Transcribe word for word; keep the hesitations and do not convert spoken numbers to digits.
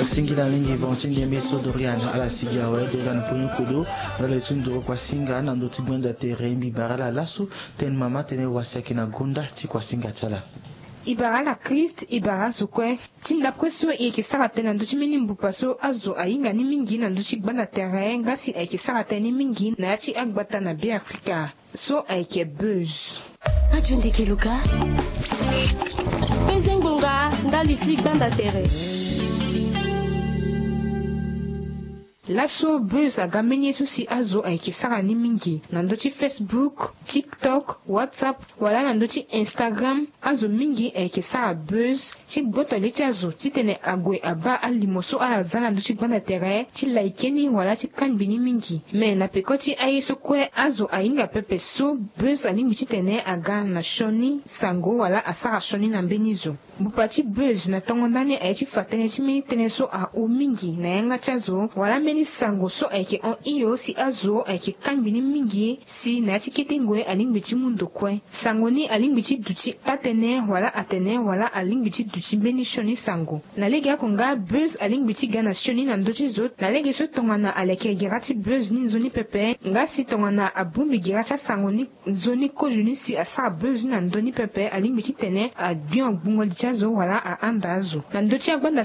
Singila mingi bon ti ndembe so Dorian ala sigi awe Dorian Ponyo Kodo. Ala ti nduru kuasinga na ndö ti gbenda tere mbi bara ala laso. Tene mama tene wasi ayeke na gonda ti kuasinga ti ala. E bara ala Christ, e bara azo kue. Ti ndapre so e yeke sara tënë na ndö ti mbeni mbupa so azo ahinga ni mingi na ndö ti gbanda tere nga si ayeke sara tënë ni mingi na ya ti agbata na Beafrika so ayeke buzz. Radio Ndeke Luka. Peze ngbonga ndali ti gbanda tere. Laso buzz aga mbeni ye so si azo ayeke sara ni mingi na ndö ti Facebook, TikTok, WhatsApp, wala na ndö ti Instagram. Azo mingi ayeke sara buzz ti gboto li ti azo titene ague abaa alimo so ala za na ndö ti gbanda tere ti like ni wala ti kangbi ni mingi. Me na peko ti aye so kue azo ahinga pepe so buzz alingbi titene aga na sioni sango wala asara sioni na mbeni zo. Mbupa ti buzz na tongo ndani aye ti fa tënë ti mbeni tënë so ahon mingi na yanga ti azo wala mbeni sango so ayeke hon hio si azo ayeke kangbi ni mingi si na ya ti kete ngoi alingbi ti mu ndo kue. Sango ni alingbi ti duti taa-tënë wala atene wala alingbi ti duti mbeni sioni sango. Na legeoko nga buzz alingbi ti ga na sioni na ndö ti zo na lege so tongana aleke gera ti buzz ni nzoni pepe nga si tongana abongbi gera ti asango ni nzoni kozo ni si asara buzz ni na ndö ni pepe alingbi titene agbion gbungo li ti azo wala ahanda azo na ndö ti agbanda.